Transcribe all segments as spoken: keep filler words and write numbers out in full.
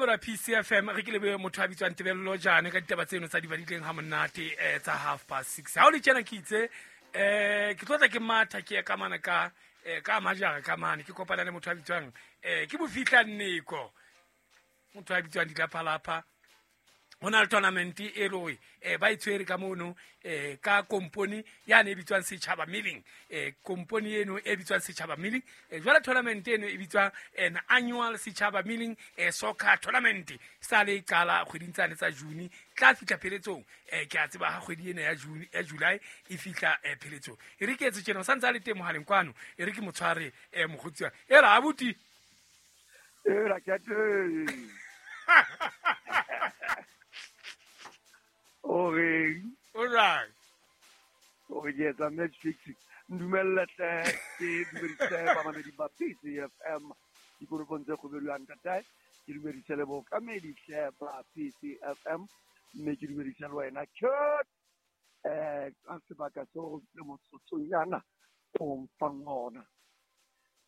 Mamela P C F M, re ke lebe motho a bitswang Tebello Jane ka ditaba tseno tsa di badileng ha monate eh, tsa half past six. Ha o le tjena ke itse eh ke tlotla ke matha ke ya ka mana ka eh, ka majara ka mane ke kopana le motho a bitswang eh ke Bofihla Nneko. Motho a bitswang Ditlaphalapha. Ho na le tournament e le hore eh ba e tshwere ka mono eh ka company ya ne e bitswang Setjhaba Milling, eh company eno e bitswang Setjhaba Milling. Eh jwale tournament eno e bitswa an annual Setjhaba Milling eh soccer tournament sa le qala kgweding tsane tsa June tla fihla pheletsong. Eh ke a tseba ha kgwedi ena ya June ya July e fihla eh pheletsong. E re ke etse tjena o santse a le teng mohaleng kwano, e re ke motshware eh mokgotsi wa e ra abuti e ra ke teng. Ore o jwang? O re ke etsa match fixing. Ndumelle hle ke dumedise bamamedi ba P C F M dikonopong tse kgobelwang ntatae. Ke dumedise le bookamedi hle ba P C F M, mme ke dumedise le wena Kurt eh ka sebaka seo le motsotsonyana o mfang ona.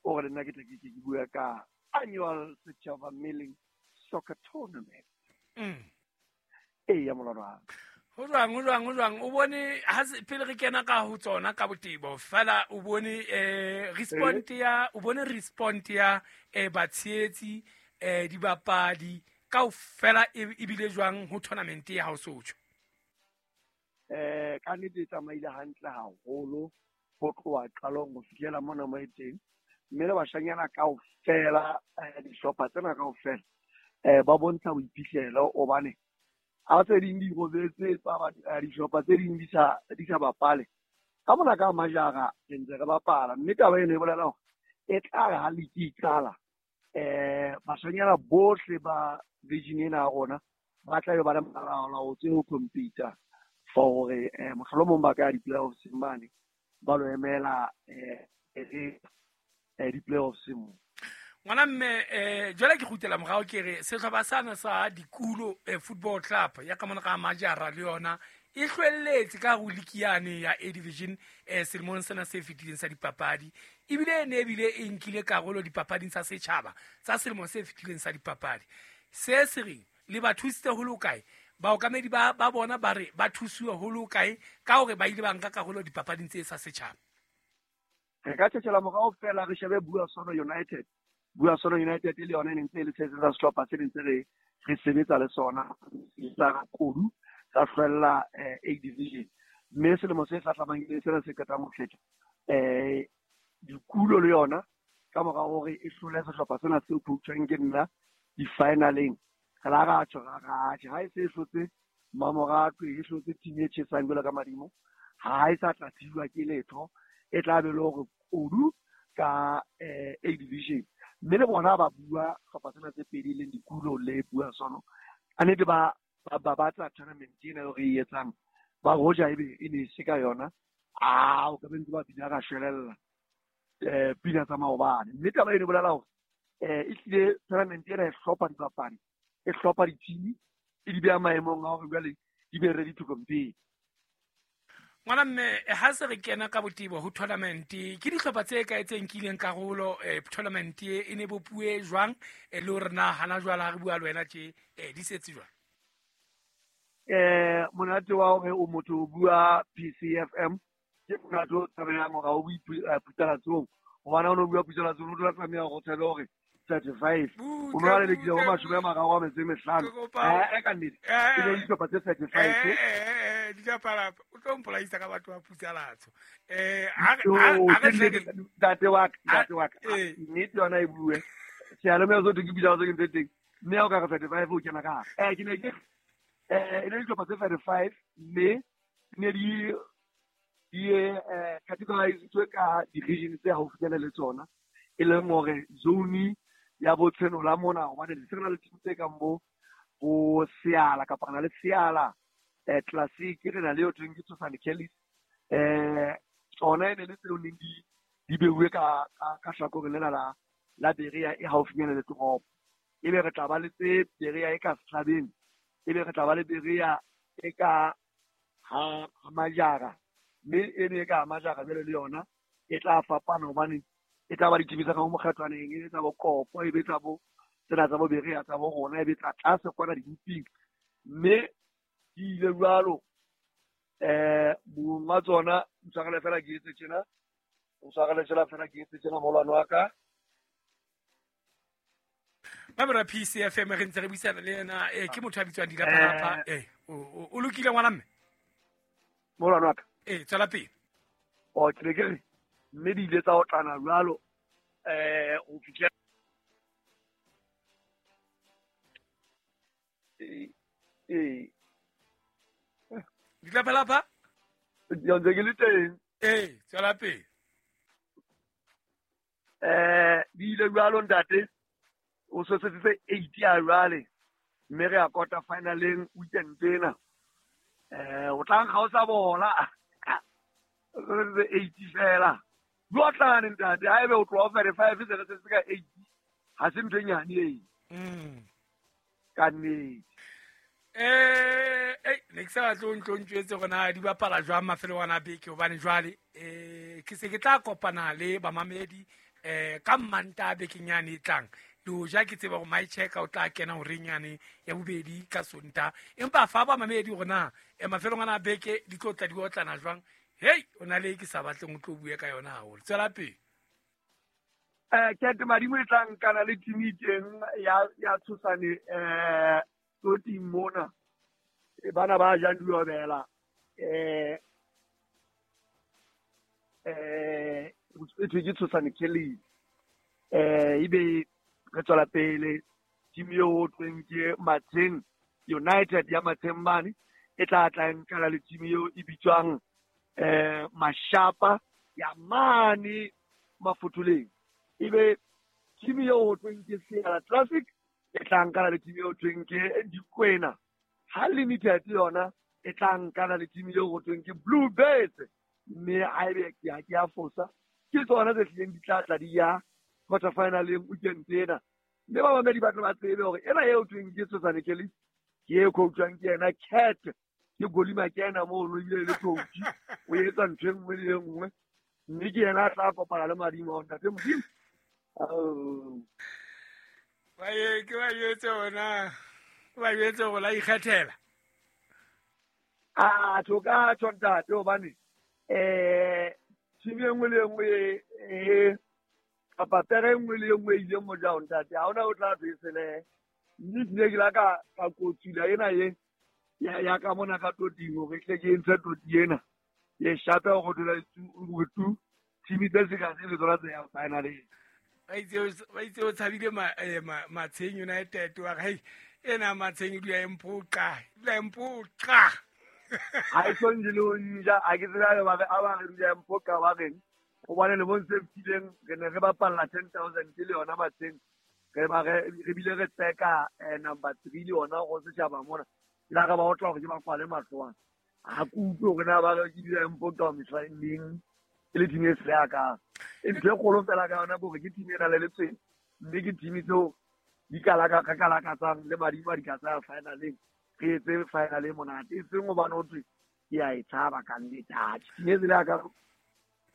O re nna ke tle ke ke bua ka annual Setjhaba Milling Soccer Tournament. Mm. E ya molwana wa ka. Ho jwang, ho jwang, ho jwang? O bone ha se pele re kena ka ho tsona ka botebo fela o bone eh respond ya o bone respond ya eh batshehetsi eh dibapadi kaofela e bile jwang ho tournament ya hao sotho? Eh ka nnete e tsamaile hantle haholo ho tloha qalong ho fihlela mona mo e teng, mme le bashanyana kaofela dihlopha tsena kaofela eh ba bontsha boiphihlelo hobane ha tse ding di robetse tsa dihlopha tse ding di sa di sa bapale ka mona ka majara re ntse re bapala, mme taba eno e bolela hore e tla re ha league e qala eh bashanyana bohle ba region ena ya rona ba tla be ba le malalaalaotse ho compete for hore eh mohlolomong ba ka ya di-playoffs mane ba lo emela eh eh di-playoffs mo. Ngwana mme eh jwale ke kgutlela morao ke re sehlopha sana sa Dikulo eh, Football Club ya ka mona ka majara le yona e hlwelletse ka ho league yane ya A Division eh selemong sena se fetileng sa dipapadi, ebile e ne ebile e nkile karolo dipapading tsa setjhaba tsa selemo se fetileng sa dipapadi. Se se reng le ba thusitse ho le kae? Baokamedi ba ba bona ba re ba thusiwe ho le kae ka hore ba ile ba nka karolo dipapading tse sa setjhaba? Re ka tjhetjhela morao fela re shebe Bua Sono United. Bua Sono United le yona e ne ntse e le se sa sehlopha se ntse re re sebetsa le sona sa Kodu sa hlwella A Division, mme selemo se hlahlamang le sena se qetang ho feta eh Dikulo le yona ka mora hore e hlole sehlopha sena seo coachang ke nna di-finaleng re la ra tjho ra ra tjho ha e se e hlotse Mamoratwe e hlotse team e tjhesang jwalo ka madimo, ha e sa tla thijwa ke letho, e tla be le hore Kodu ka eh A Division. Mme le bona ba bua hlopha tsena tse pedi leng Dikulo le Bua Sono a nnete ba ba batla tournament ena eo re e etsang ba hoja ebe e ne se ka yona a o ka be ntse ba bina ka shwelella eh pina tsa maobane. Mme taba eno e bolela hore eh e tlile tournament ena e hlopha dibapadi e hlopha di-team e di beha maemong a hore jwale di be ready to compete. Ngwana mme ha se re kena ka botebo ho tournament ke dihlopha tse kae tse nkileng karolo eh tournament e ne bopuwe jwang e le hore na hana jwale ha re bua le wena tje eh di setse jwang? Eh monate wa hore o motho o bua P C F M ke monate o tshabehang hore ha o bue putalatsong, hobane ha o no bua putalatsong o tla tlameha hore o tshabe hore thirty-five o no lelekile ho mashome a mararo a metso e mehlano eh ka nnete e ne dihlopha tse thirty-five eh Ditlaphalapha o tlo mpolaisa ka batho ba putsalatso eh ha re ntate wa ka ntate wa ka nnete yona e bue seyalemoya so ke bitsa tse ke ntse teng mme ha o ka re thirty-five o kena ka hare eh ke ne ke eh e ne dihlopha tse thirty-five mme ne di di eh categorizitswe ka di-region tse haufinyana le tsona, e leng hore zone ya botshenola mona hobane le se re na le team tse kang bo bo Seala kapa re na le Seala eh Classic re na le yo thweng ke Tshosane Kelly's eh tsona e ne le tseo neng di di beuwe ka ka hlakoreng lena la la Berea e haufinyana le toropo, ebe re tla ba le tse Berea e ka Sehlabeng, ebe re tla ba le Berea e ka ha Majara, mme e ne e ka Majara jwale le yona e tla fapana hobane e tla ba ditimi tsa ka mo mokgatlwaneng, e tsa bo Kopo, e be tsa bo Tsena tsa bo Berea tsa bo rona e be tla tlase kwana dihuping. Mme di ile jwalo eh monga tsona ntshwarele fela ke etse tjena. Ntshwarele tjena fela ke etse tjena molwane wa ka. Mamela P C F M re ntse re buisana le yena eh ke motho a bitswang Dilapalapa eh o o lokile ngwana mme molwane wa ka eh tswela pele o ke ke re mme di ile tsa otlana jwalo eh o fitlhe eh eh Dilapalapa ntse ke le teng eh tswela pele eh di ile jwalo ntate o sosetse eight ya jwale mme re ya quarter finaleng weekend ena eh o tla nkga o sa bola o sosetse eight fela di otlane ntate ha ebe o tloha fere five se re setse ka eight ha se ntho e nyane e mm ka nnete eh eh ne ke sa batle o ntlo ntjwetse hore na di bapala jwang mafelo ana a beke hobane jwale eh ke se ke tla kopana le bamamedi eh ka Mmantaha bekeng yane e tlang le hoja ke tseba hore my checker o tla kena horeng yane ya bobedi ka Sontaha empa fa ba mamedi hore na eh mafelong ana a beke di tlo tla di otlana jwang hei o na le ke sa batleng o tlo bue ka yona haholo tswela pele eh Cat Madimo e tla nkana le team e teng ya ya Tshosane eh toti mona e bana ba jang diobela eh eh e thwe ke Tshosane Kelly eh ebe re tswela pele team eo ho thweng ke Matsheng United ya Matsheng mane e tla tla nkana le team eo e bitswang eh Mashapa ya mane Mafotholeng ebe team eo ho thweng ke Sierra Classic e tla nkana le team eo thweng ke Dikwena ha Limited yona e tla nkana le team eo ho thweng ke Blue Birds mme ha ebe ke a ke a fosa ke tsona tse hlileng di tla tla di ya quarter finaleng weekend ena mme ba bamedi ba tla ba tsebe hore ena eo thweng ke Tshosane Kelly ke e coachwang ke yena Cat ke Golima ke yena mono ebile le coach o etsa ntho e nngwe le e nngwe mme ke yena a tla kopana le Madimo ntate Modimo ba ye ke ba jwetse hona ba jwetse hore la ikgethela a tho ka tho ntate hobane eh team e nngwe le e nngwe e kapa pere e nngwe le e nngwe e ileng mojao ntate ha hona o tla besele mme tlile ke la ka ka kotsula ena ye ya ya ka mona ka toting hore tle ke ntshe toti ena ye shape go dula tu tu team tse se ka se le tsona tse ya finaleng ba itse ba itse o tshabile ma Matsheng United wa hei ena Matsheng e dula e mpoqa e dula e mpoqa ha e so nje le o nja a ke tsela ba re a ba re dula e mpoqa ba reng hobane le bontse fetileng re ne re bapalla ten thousand le yona Matsheng re ba re re bile re tseka number three le yona go setjhaba mona la re ba otla hore ke ba kwale mahlo ana ha ke utlwe hore na ba re ke dula e mpoqa mehla neng e le team e se ya ka e ntho e kgolo fela ka yona hore ke team e nang le letswele mme ke team tseo di ka laka ka ka lakatsang le Madimo a di ka tsaya finaleng re etse final e monate e seng hobane ho thwe ke a e tshaba ka nnete atjhe team e tsela ya ka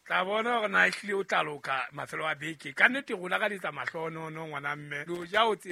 tla bona hore na ehlile o tla loka mafelo a beke ka nnete rona ka letsa mahlonono ngwana mme le hoja o tseba